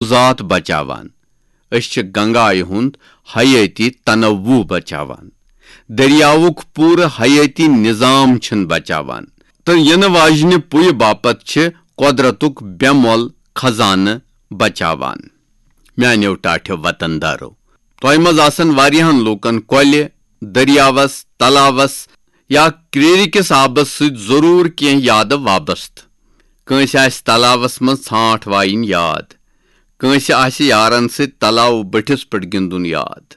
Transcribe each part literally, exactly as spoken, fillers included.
ذات بچاوان۔ أسۍ چھِ گنگایہِ ہُنٛد حیٲتی تنوع بچاوان۔ دٔریاوُک پوٗرٕ حیٲتی نظام چھِن بچاوان۔ تہٕ یِنہٕ واجنہِ پُیہِ باپتھ چھِ قۄدرتُک بے مۄل خزانہٕ بچاوان۔ میانیو ٹاٹھیو وطن دارو، تۄہہِ منٛز آسن واریاہن لوٗکن کۄلہِ، دٔریاوس، تلاوس یا کرٛیٖرِ کِس آبس سۭتۍ ضروٗر کینٛہہ یادٕ وابستہٕ۔ کٲنٛسہِ آسہِ تلاوس منٛز ژھانٛٹھ وایِنۍ یاد۔ کٲنٛسہِ آسہِ یارن سۭتۍ تلاو بٔٹھِس پٮ۪ٹھ گِنٛدُن یاد۔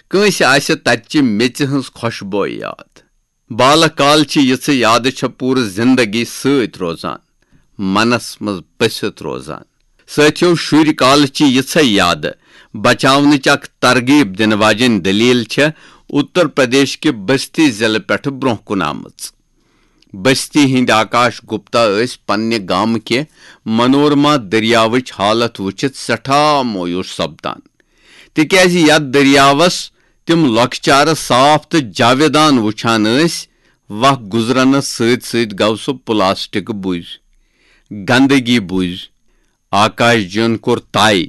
کٲنٛسہِ آسہِ تتہِ چہِ میٚژِ ہٕنٛز خۄشبوے یاد۔ بالہٕ کال چہِ یِژھٕ یادٕ چھےٚ پوٗرٕ زندگی سۭتۍ روزان، منس منٛز بٔسِتھ روزان۔ سٲتھیو، شُرۍ کالہٕ چہِ یِژھے یادٕ بچاونٕچ اکھ ترغیب دِنہٕ واجیٚنۍ دٔلیٖل چھےٚ اُتر پردیش کہِ بستی ضلعہٕ پٮ۪ٹھٕ برونٛہہ کُن آمٕژ۔ بستی ہٕنٛدۍ آکاش گپتا ٲسۍ پننہِ گامہٕ کہِ منورما دٔریاوٕچ حالت وٕچھِتھ سٮ۪ٹھاہ مویوٗس سپدان، تِکیازِ یتھ دٔریاوس تِم لۄکچارٕ صاف تہٕ جاویدان وٕچھان ٲسۍ، وق گُزرنس سۭتۍ سۭتۍ گوٚو سُہ پلاسٹک بُز، گندگی بُز۔ آکاش جِین کوٚر طے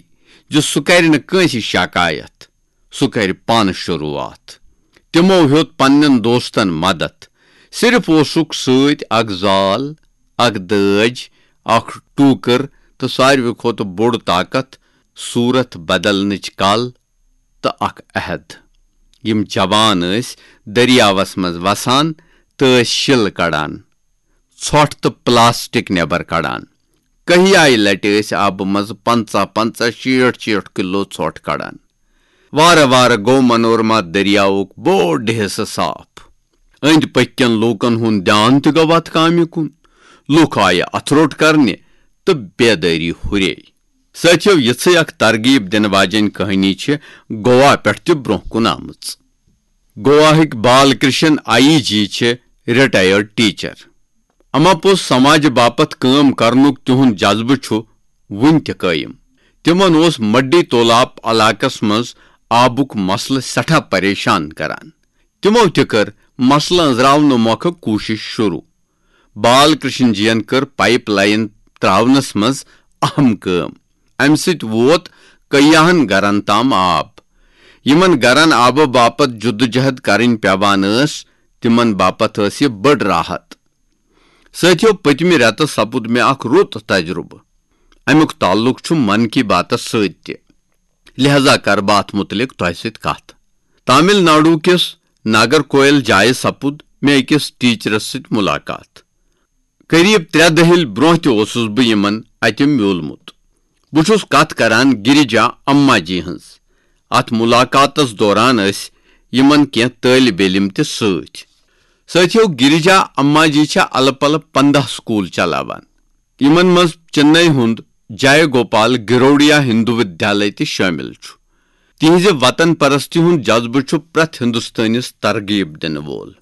زِ سُہ کرِ نہٕ کٲنٛسہِ شکایت، سُہ کرِ پانہٕ شروٗعات۔ تِمو ہیوٚت پننٮ۪ن دوستن مدد۔ صرف اوسُکھ سۭتۍ اکھ زال، اکھ دٲج، اکھ ٹوٗکٕر تہٕ ساروی کھۄتہٕ بوٚڑ طاقت، صوٗرت بدلنٕچ کل تہٕ اکھ عہد۔ یِم جوان ٲسۍ دٔریاوس منٛز وسان تہٕ ٲسۍ شِل کڑان، ژھۄٹھ تہٕ پلاسٹک نٮ۪بر کڑان۔ کہیایہِ لٹہِ ٲسۍ آبہٕ منٛزٕ پنٛژاہ پنٛژاہ، شیٹھ شیٹھ کلو ژھۄٹھ کڑان۔ وارٕ وارٕ گوٚو منورما دٔریاوُک بوٚڑ حصہٕ صاف۔ أنٛدۍ پٔکۍ کٮ۪ن لوٗکن ہُنٛد دیان تہِ گوٚو اتھ کامہِ کُن۔ لوٗکھ آیہِ اتھٕ روٚٹ کرنہِ تہٕ بیدٲری ہُرے۔ سٲتھیو، یِژھٕے اکھ ترغیب دِنہٕ واجیٚنۍ کہانی چھِ گوا پٮ۪ٹھ تہِ برونٛہہ کُن آمٕژ۔ گواہٕکۍ بال کرشن آئی جی چھِ ریٹائرڈ ٹیچر۔ اما پوٚز، سماجہِ باپتھ کٲم کرنُک تِہُنٛد جذبہٕ چھُ وُنہِ تہِ قٲیِم۔ تِمن اوس مڈی تولاپ علاقس منٛز آبُک مسلہٕ سٮ۪ٹھاہ پریشان کران۔ تِمو تہِ کٔر مسلہٕ أنٛزراونہٕ مۄکھٕ کوٗشش شروٗع۔ بال کرشن جین کٔر پائپ لائن تراونس منٛز اہم کٲم۔ امہِ سۭتۍ ووت کیاہن گرن تام آب۔ یِمن گرن آبہٕ باپتھ جدوجہد کرٕنۍ پیوان ٲس، تِمن باپتھ ٲس یہِ بٔڑ راحت۔ سٲتھیو، پٔتمہِ رٮ۪تہٕ سپُد مےٚ اکھ رُت تجربہٕ۔ امیُک تعلق چھُ من کی باتس سۭتۍ تہِ، لہذا کرٕ بہٕ اتھ مُتعلق تۄہہِ سۭتۍ کتھ۔ تامل ناڈو کِس ناگرکویل جایہِ سپُد مےٚ أکِس ٹیچرس سۭتۍ ملاقات۔ قریب ترٛےٚ دٔہِل برونٛہہ تہِ اوسُس بہٕ یِمن اتہِ میوٗلمُت۔ بہٕ چھُس کتھ کران گریجا اما جی ہٕنٛز۔ اتھ ملاقاتس دوران ٲسۍ یِمن کینٛہہ طٲلب علم تہِ سۭتۍ۔ سٲتھیو، گریجا اما جی چھےٚ الہٕ پلہٕ پنٛداہ سکوٗل چلاوان، یِمن منٛز چنئی ہُنٛد جے گوپال گروڈیا ہندو ودیالے تہِ شٲمِل چھُ۔ تِہنٛزِ وطن پرستی ہُنٛد جذبہٕ چھُ پرٛٮ۪تھ ہندوستٲنِس ترغیب دِنہٕ وول۔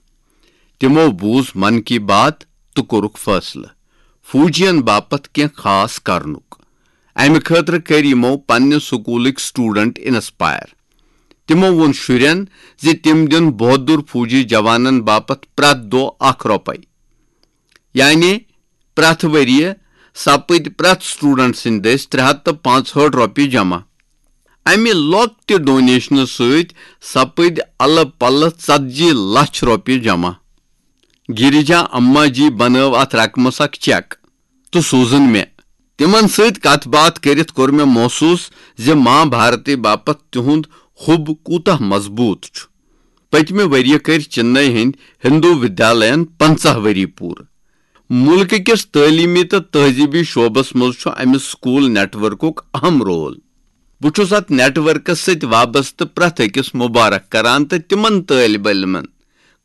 تِمو بوٗز من کی بات تہٕ کوٚرُکھ فٲصلہٕ فوجین باپتھ کینٛہہ خاص کرنُک۔ امہِ خٲطرٕ کٔرۍ یِمو پننہِ سکوٗلٕکۍ سٹوڈنٹ انسپائر۔ تِمو ووٚن شُرٮ۪ن زِ تِم دِن بہادُر فوجی جوانن باپتھ پرٛٮ۪تھ دۄہ اکھ رۄپے۔ یعنی پرٛٮ۪تھ ؤریہِ سپٕدۍ پرٛٮ۪تھ سٹوڈنٹ سٕنٛدِ دٔسۍ ترٛےٚ ہتھ تہٕ پانٛژہٲٹھ رۄپیہِ جمع۔ امہِ لۄکٹہِ ڈونیشنہٕ سۭتۍ سپٕدۍ الہٕ پلہٕ ژتجی لچھ رۄپیہِ جمع۔ گریجا اما جی بنٲو اتھ رقمس اکھ چیک تہٕ سوٗزُن مےٚ۔ تِمن سۭتۍ کتھ باتھ کٔرِتھ کوٚر مےٚ محسوٗس زِ ماں بھارتی باپتھ تِہُنٛد حُب کوٗتاہ مضبوٗط چھُ۔ پٔتمہِ ؤریہِ کٔرۍ چنئی ہٕنٛدۍ ہندو ودیالین پنٛژاہ ؤری پوٗرٕ۔ مُلکہٕ کِس تعلیٖمی تہٕ تہذیٖبی شعبس منٛز چھُ امہِ سکوٗل نیٹ ورکُک اہم رول۔ بہٕ چھُس اتھ نیٹ ورکس سۭتۍ وابستہٕ پرٛٮ۪تھ أکِس مبارک کران تہٕ تِمن طٲلب علمن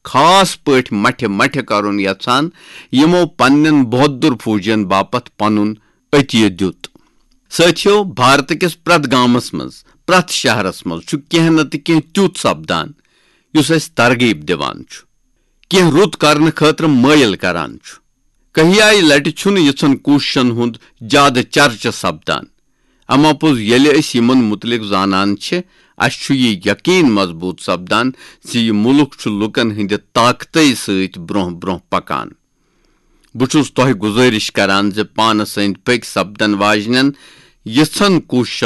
خاص پٲٹھۍ مٹھِ مٹھِ کرُن یژھان، یِمو پننٮ۪ن بہادُر فوجین باپتھ پنُن عطیہ دیُت۔ سٲتھیو، بھارت کِس پرٛٮ۪تھ گامس منٛز، پرٛٮ۪تھ شہرس منٛز چھُ کینٛہہ نتہٕ کینٛہہ تیُتھ سپدان یُس اسہِ ترغیب دِوان چھُ، کینٛہہ رُت کرنہٕ خٲطرٕ مٲیِل کران چھُ۔ کہیایہِ لٹہِ چھُنہٕ یِژھن کوٗششن ہُنٛد زیادٕ چرچہٕ سپدان، اما پوٚز ییٚلہِ أسۍ یِمن مُتعلق زانان چھِ، اسہِ چھُ یہِ یقین مضبوٗط سپدان زِ یہِ مُلک چھُ لوٗکن ہٕنٛدِ طاقتہٕ سۭتۍ برونٛہہ برونٛہہ پکان۔ بہٕ چھُس تۄہہِ گُزٲرِش کران زِ پانس أنٛدۍ پٔکۍ سپدن واجنٮ۪ن یژھن کوششن